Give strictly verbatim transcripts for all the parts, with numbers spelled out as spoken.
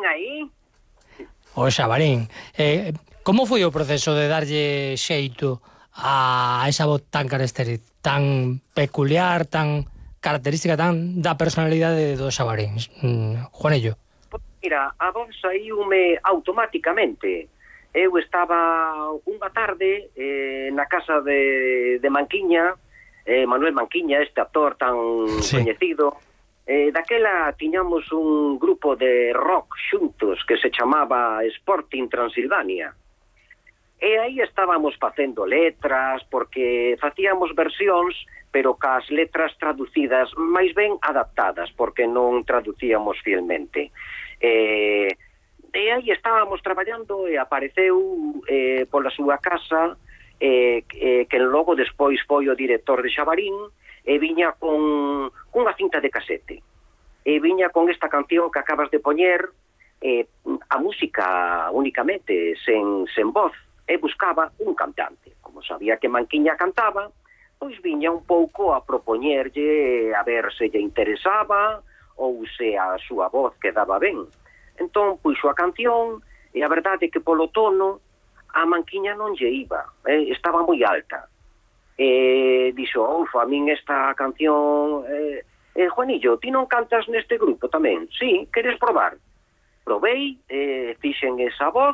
Xabarín aí? O Xabarín. Eh, como foi o proceso de darlle xeito a esa voz tan característica, tan peculiar, tan característica, tan da personalidade do Xabarín, mm, Juanillo? Pois mira, a voz saíume automáticamente. Eu estaba unha tarde eh, na casa de, de Manquiña, eh, Manuel Manquiña, este actor tan sí. coñecido. Eh, daquela tiñamos un grupo de rock xuntos que se chamaba Sporting Transilvania. E aí estábamos facendo letras, porque facíamos versións, pero cas letras traducidas, máis ben adaptadas, porque non traducíamos fielmente. E, e aí estábamos traballando e apareceu eh, pola súa casa eh, eh, que logo despois foi o director de Xabarín, e viña con unha cinta de casete. E viña con esta canción que acabas de poñer, eh, a música únicamente, sen, sen voz, e buscaba un cantante. Como sabía que Manquiña cantaba, pois viña un pouco a propoñerlle a ver se lle interesaba ou se a súa voz quedaba ben. Entón, puxo a canción, e a verdade é que polo tono a Manquiña non lle iba, eh, estaba moi alta. E dixo, ufa, a min esta canción... Eh, eh, Juanillo, ti non cantas neste grupo tamén? Sí, queres probar? Probei, eh, fixen esa voz,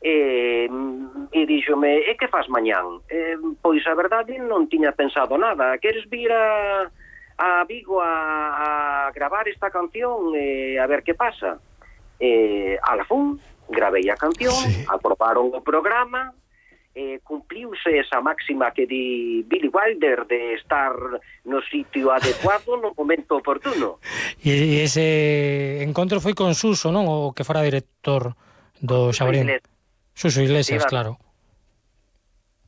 e, e díxome, e que faz mañán? Eh, pois a verdade non tiña pensado nada. Queres vir a, a Vigo a, a gravar esta canción e a ver que pasa? Eh, a la fun, gravei a canción, sí. Aprobaron o programa, eh, cumpliuse esa máxima que di Billy Wilder de estar no sitio adecuado no momento oportuno. E ese encontro foi con Suso, non? O que fora director do Xabarín. Suso Iglesias, claro.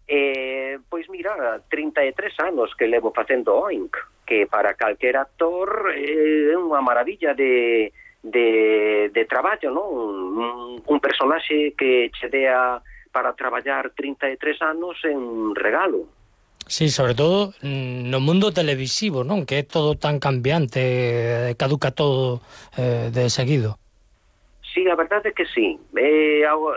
Eh, pois mira, trinta e tres anos que levo facendo Oink, que para calquer actor é eh, unha maravilla de, de, de traballo, non? Un, un personaxe que che dea para traballar trinta e tres anos en un regalo. Sí, sobre todo no mundo televisivo, non? Que é todo tan cambiante, caduca todo eh, de seguido. Sí, a verdade é que sí. Eh, ao,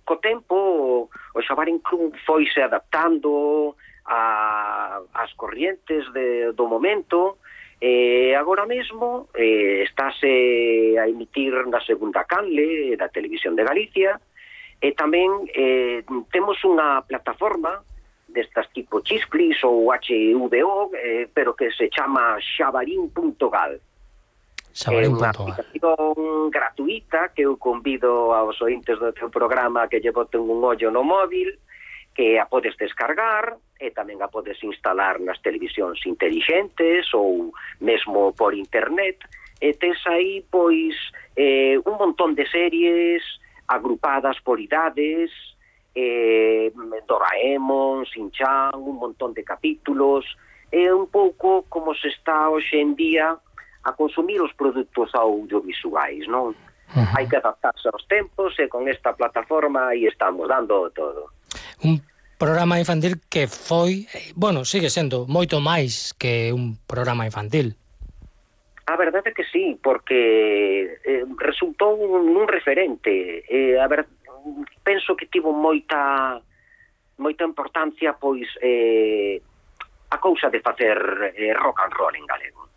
co tempo o Xabarín Club foise adaptando a, as corrientes de, do momento, e agora mesmo eh, estáse a emitir na segunda canle da Televisión de Galicia, e tamén eh, temos unha plataforma destas tipo Chisclis ou H V O, eh, pero que se chama xabarín punto gal. É unha aplicación gratuita que eu convido aos ointes do teu programa que lle boten un ollo no móvil, que a podes descargar e tamén a podes instalar nas televisións intelixentes ou mesmo por internet, e tes aí pois eh, un montón de series agrupadas por idades, eh, Doraemon, Shin-chan, un montón de capítulos, é un pouco como se está hoxe en día a consumir os produtos audiovisuais, non? Uh-huh. Hai que adaptarse aos tempos e con esta plataforma aí estamos dando todo. Un programa infantil que foi, bueno, sigue sendo moito máis que un programa infantil. A verdade é que sí, porque eh, resultou un, un referente. Eh, a ver, penso que tivo moita moita importancia pois eh, a cousa de facer eh, rock and roll en galego.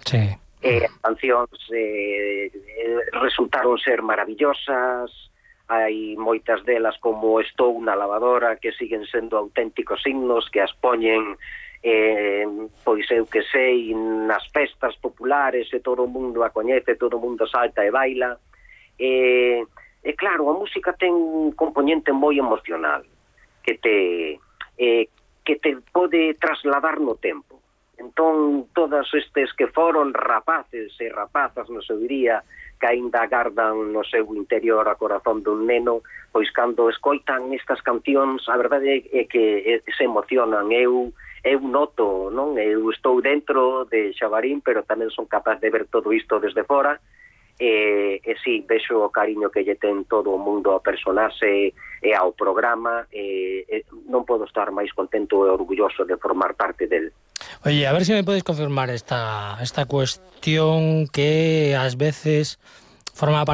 Sí. Eh, as cancións eh, resultaron ser maravillosas, hai moitas delas como Estou na lavadora que siguen sendo auténticos himnos que as poñen eh, pois eu que sei nas festas populares e todo o mundo a coñece, todo o mundo salta e baila. E, e claro, a música ten un componente moi emocional que te eh, que te pode trasladar no tempo. Entón, todos estes que foron rapaces e rapazas no seu día, que aínda agardan no seu interior a corazón dun neno, pois cando escoitan estas cancións, a verdade é que se emocionan. Eu eu noto, non? Eu estou dentro de Xabarín, pero tamén son capaz de ver todo isto desde fora, e, e sí, vexo o cariño que lle ten todo o mundo ao personaxe e ao programa, e, e non podo estar máis contento e orgulloso de formar parte del. Oye, a ver se me podes confirmar esta, esta cuestión que ás veces forma parte